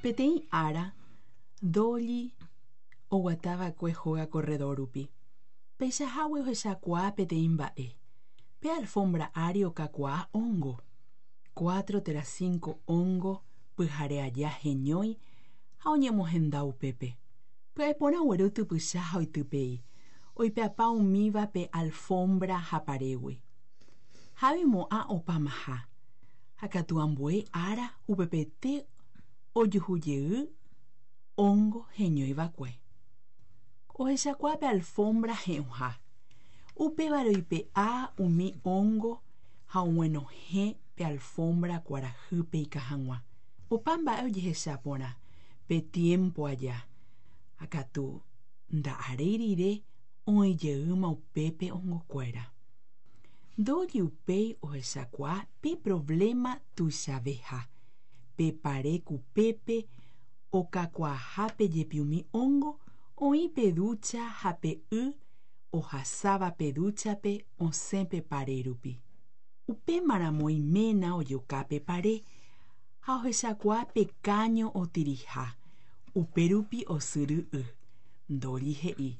Peteĩ ára, Dolly oguatava'ekue hóga corredor rupi. Peichahágui ohechakuaa peteĩ mba'e. Pe alfombra ári okakuaa hongo. Cuatro térã cinco hongo pyhare aja heñói ha oñemohenda upépe. Pya'e porã ogueru typycha ha oitypei, oipe'apa umíva pe alfombra ha parégui. Ha'e oimo'ã opamaha, ha katu ambue ára upepete ojuhujey hongo heñoiva'ekue. Ohechakuaa pe alfombra he'õha. Upévare oipe'a umi hongo ha og̃uenohẽ pe alfombra kuarahýpe ikã hag̃ua. Opa mba'e ojehecha porã pe tiempo aja, ha katu nda'aréi rire oĩjeýma upépe hongokuéra. Dolly upéi ohechakuaa pe problema tuichaveha, pe pare kupépe okakuaahápe jepi umi hongo oĩ pe ducha ha pe y ohasáva pe dúchape osẽ pe pare rupi. Upémaramo iména ojoka pe pare ha ohechakuaa pe caño otiriha, upérupi osyry y. Dolly he'i,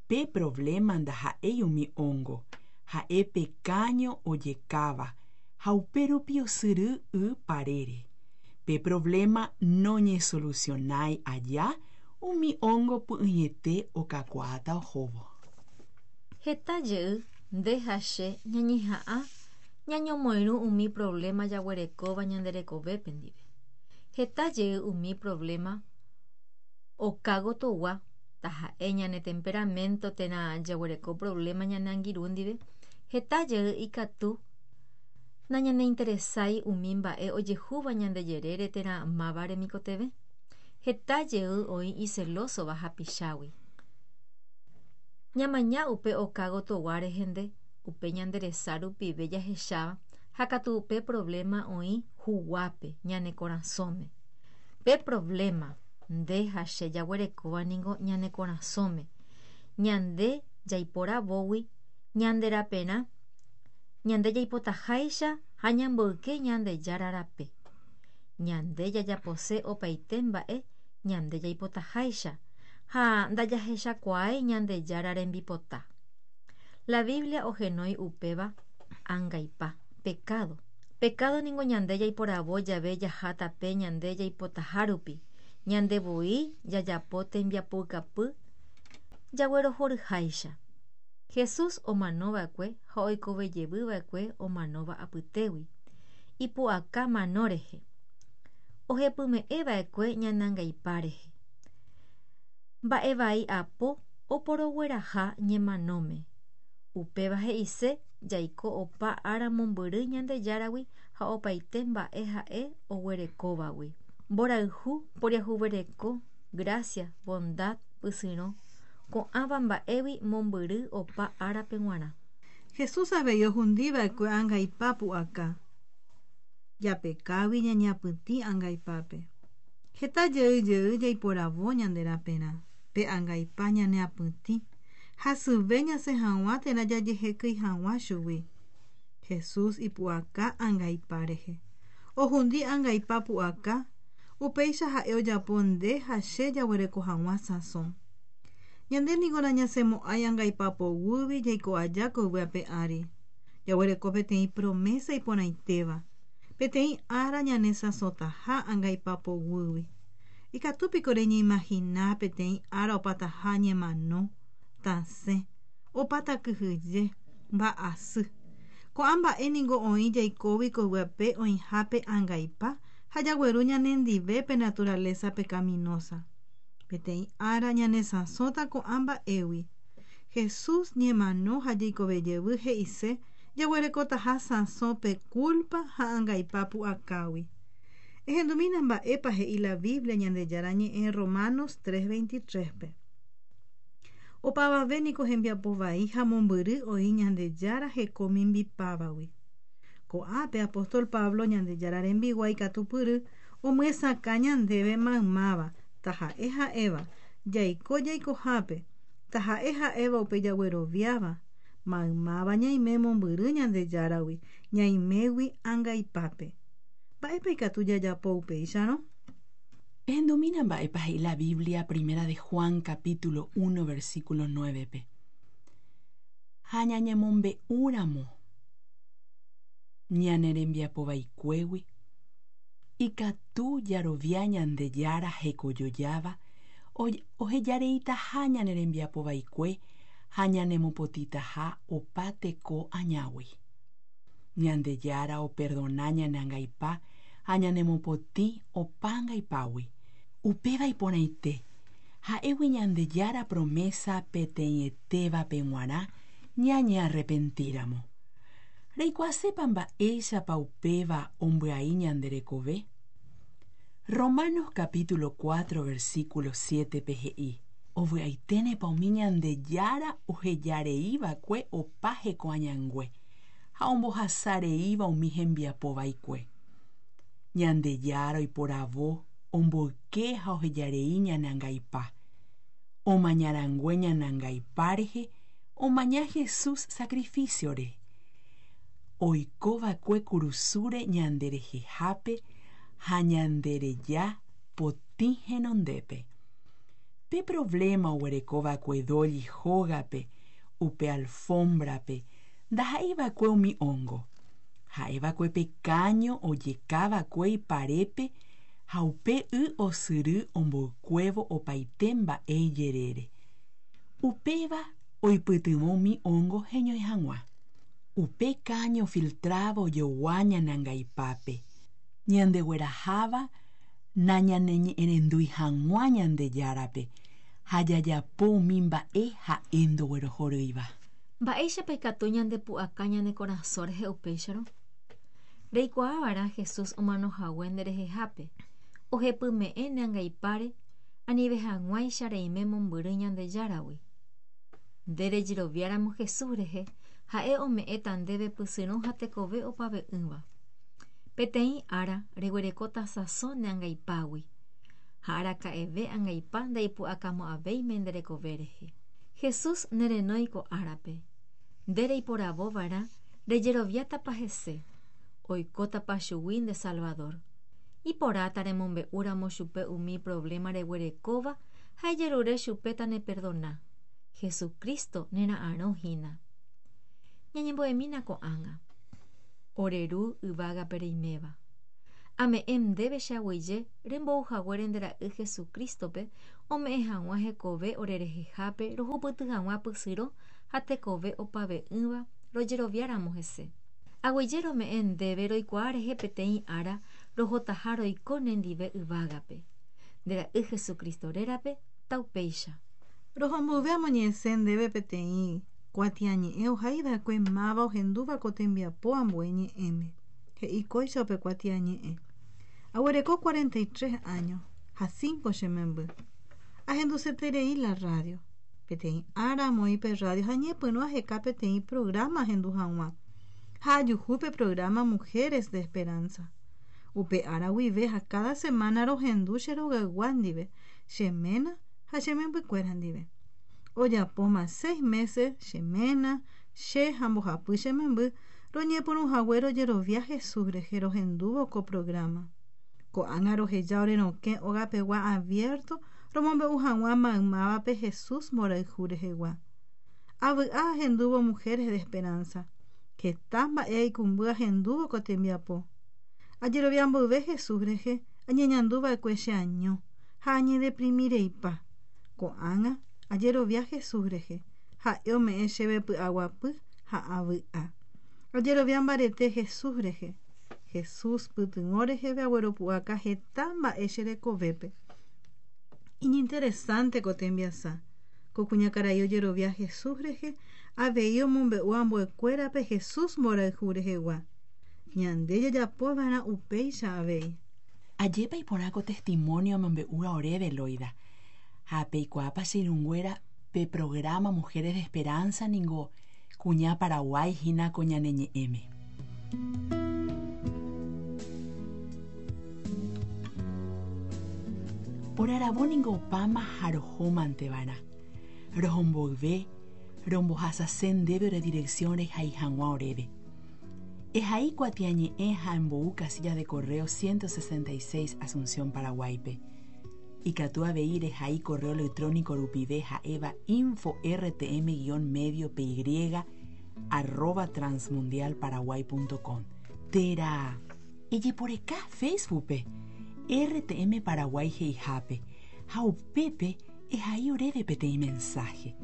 pe problema ndaha'éi umi hongo, ha'e pe caño ojekáva ha upérupi osyry y parére. Pe problema noñesolucionái aja umi hongo py'ỹiete okakuaáta ohóvo. Heta jey nde ha che ñañeha'ã ñañomoirũ umi problema jaguerekóva ñande rekovépe ndive. Heta jey umi problema okágotogua taha'e ñane temperamento térã jaguereko problema ñane angirũ ndive. Heta jey ikatu nañaneinteresái umi mba'e ojehúva ñande jerére térã máva remikotevẽ. Heta jey oĩ icelósova hapichágui. Ñamaña upe okágotogua rehende upe ñande resa rupive jahecháva ha katu upe problema oĩ huguápe ñane korasõme. Pe problema nde ha che jaguerekóva ningo ñane korasõme. Ñande jaiporavógui ñande raperã, ñande jaipotaháicha ha ñamboyke Ñandejára rape. Ñande jajapose opaite mba'e ñande jaipotaháicha ha ndajahechakuaái Ñandejára rembipota. La Biblia ohenói upéva angaipa, pecado. Pecado ningo ñande jaiporavo jave jaha tape ñande jaipotaha rupi. Ñande voi jajapo tembiapoukapy jaguerohoryháicha. Jesús omanova'ekue ha oikovejevyva'ekue omanóva apytégui. Ipu'aka mano rehe. Ohepyme'ẽva'ekue ñane angaipa rehe. Mba'e vai apo oporogueraha ñemanóme. Upéva he'ise jaiko opa ára mombyry Ñandejáragui ha opaite mba'e ha'e oguerekóvagui. Mborayhu, poriahuvereko, gracia, bondad, pysyrõ, ko'ãva mba'égui mombyry opa árape g̃uarã. Jesús avei ohundiva'ekue angaipa pu'aka. Japekágui ñañapytĩ angaipápe. Heta jey jey jaiporavo ñande raperã. Pe angaipa ñaneapytĩ. Hasyve ñasẽ hag̃ua térã jajehekýi hag̃ua chugui. Jesús ipu'aka angaipa rehe. Ohundi angaipa pu'aka, upéicha ha'e ojapo nde ha che jaguereko hag̃ua sãso. Ñande niko nañasẽmo'ãi angaipa poguýgui jaiko aja ko yvy ape ári. Jaguereko peteĩ promesa iporãitéva. Peteĩ ára ñanesãsotaha angaipa poguýgui. Ikatúpiko reñeimagina peteĩ ára opataha ñemano, tasẽ, opáta kyhyje, mba'asy. Ko'ã mba'e ningo oĩ jaikógui ko yvy ape oĩhápe angaipa ha jagueru ñanendive pe naturaleza pecaminosa. Peteĩ ára ñanesãsóta ko'ã mba'égui. Jesús ñemano ha jeikovejevy he'ise jaguerekotaha sãso pe culpa ha angaipa pu'akágui. Ehendumína mba'épa he'i la Biblia Ñandejára ñe'ẽ Romanos 3:23-pe. Opavave niko hembiapo vai ha mombyry oĩ Ñandejára heko mimbipávagui. Ko'ápe apóstol Pablo Ñandejára rembiguái katupyry omyesakã ñandéve maymáva, taha'e ha'éva, jaiko jaikohápe, taha'e ha'éva upe jagueroviáva, maymáva ñaime mombyry Ñandejáragui, ñaimégui angaipápe. Mba'épa ikatu jajapo upéicharõ? Ehendumína mba'épa he'i la Biblia Primera de Juan capítulo 1 versículo 9-pe. Ha ñañemombe'úramo ñane rembiapo vaikuégui, ikatu jarovia Ñandejára hekojojáva ohejareitaha ñane rembiapo vaikue ha ñanemopotĩtaha opa teko añágui. Ñandejára operdona ñane angaipa ha ñanemopotĩ opa angaipágui. Upéva iporãite, ha'égui Ñandejára promesa peteĩetévape g̃uarã ñañearrepentíramo. Reikuaasépa mba'éichapa upéva ombyai ñande rekove? Romanos capítulo 4 versículo 7-pe he'i, Ovy'aiténepa umi Ñandejára ohejareiva'ekue opa heko añangue ha ombohasareíva umi hembiapo vaikue. Ñandejára oiporavo, omboyke ha ohejarei ñane angaipa. Omañarangue ñane angaipa rehe, omaña Jesús sacrificio-re. Oikova'ekue kurusúre ñanderehehápe ha ñandereja potĩ henondépe. Pe problema oguerekova'ekue Dolly hógape, upe alfombra-pe, ndaha'eiva'ekue umi hongo. Ha'eva'ekue pe caño ojekava'ekue iparépe ha upe y osyry omboykuévo opaite mba'e ijerére. Upéva oipytyvõ umi hongo heñói hag̃ua. Upe caño filtrado ojogua ñane angaipápe. Ñandegueraháva nañaneñe'ẽrendúi hag̃ua Ñandejárape ha jajapo umi mba'e ha'e ndoguerohorýiva. Mba'éichapa ikatu ñandepu'aka ñane korasõ rehe upéicharõ? Reikuaava'erã Jesús omanohague nderehehápe, ohepyme'ẽ ne angaipáre anive hag̃uáicha reime mombyry Ñandejáragui. Nde rejeroviáramo Jesús rehe, ha'e ome'ẽta ndéve pysyrõ ha tekove opave'ỹva. Peteĩ ára reguerekóta sãso ne angaipágui, ha araka'eve angaipa ndaipu'akamo'ãvéime nde rekove rehe. Jesús nerenói ko árape. Nde reiporavova'erã rejeroviátapa hese, oikótapa chugui nde Salvador. Iporãta remombe'úramo chupe umi problema reguerekóva ha ejerure chupe taneperdona. Jesucristo nera'arõ hína. Ñañembo'emína ko'ág̃a. Ore Ru yvágape reiméva. Ame'ẽ ndéve che aguyje rembouhaguére nde ra'y Jesucristo-pe ome'ẽ hag̃ua hekove orerehehápe rohupyty hag̃ua pysyrõ ha tekove opave'ỹva rojeroviáramo hese. Aguyje rome'ẽ ndéve roikuaa rehe peteĩ ára rohotaha roiko nendive yvágape. Nde ra'y Jesucristo rérape taupéicha. Rohombyve amoñe'ẽse ndéve peteĩ kuatiañe'ẽ ohaiva'ekue máva ohendúva ko tembiapo ambue ñe'ẽme. He'i kóicha upe kuatiañe'ẽ. Aguereko 43 años ha 5 che memby. Ahenduseterei la radio. Peteĩ ára amoĩ pe radio ha ñepyrũ aheka peteĩ programa ahendu hag̃ua. Ha ajuhu pe programa Mujeres de Esperanza. Upe ára guive ha cada semana rohendu che rogaygua ndive, che ména ha che membykuéra ndive. Ojapóma 6 meses che ména, che ha mbohapy che memby roñepyrũhague rojerovia Jesús rehe rohendúvo ko programa. Ko'ág̃a roheja ore rokẽ ogapegua abierto romombe'u hag̃ua maymávape Jesús mborayhu rehegua. Avy'a ahendúvo Mujeres de Esperanza. Heta mba'e aikũmby ahendúvo ko tembiapo. Ajerovia mboyve Jesús rehe añeñanduva'ekue che año ha añedeprimireipa. Ko'ág̃a ajerovia Jesús rehe. Ha'e ome'ẽ chéve py'aguapy ha avy'a. Ajerovia mbarete Jesús rehe. Jesús pytyvõ reheve agueropu'aka heta mba'e che rekovépe. Iñinteresante ko tembiasa. Ko kuñakarai ojerovia Jesús rehe avei omombe'u ambuekuérape Jesús mborayhu rehegua. Ñande jajapova'erã upéicha avei. Ajépa iporã ko testimonio amombe'úva oréve Loida. Ha peikuaápa che irũnguéra pe programa Mujeres de Esperanza ningo kuña Paraguái hína ko ñane ñe'ẽme. Oraravo ningo opáma ha rohómanteva'erã. Rohomboyve, rombohasase ndéve ore dirección rehai hag̃ua oréve. Ehai kuatiañe'ẽ ha embou casilla de correo 166 Asunción, Paraguáipe. Ikatu avei rehai correo electrónico rupive ha'éva info rtm-medio py arroba transmundialparaguay.com térã ejeporeka Facebook-pe RTM Paraguay he'ihápe ha upépe ehai oréve peteĩ mensaje.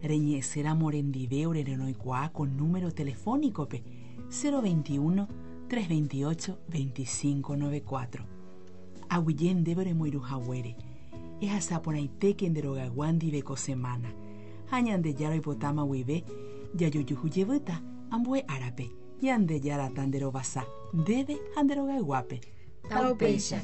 Reñe'ẽséramo orendive orerenoikuaa ko número telefónico-pe 021 328 2594. Aguyje ndéve oremoirũhaguére. Ehasa porãitéke nde rogaygua ndive ko semana. Ha Ñandejára oipotáma guive jajojuhu jevýta ambue árape. Ñandejára tanderovasa ndéve ha nde rogayguápe. Taupéicha.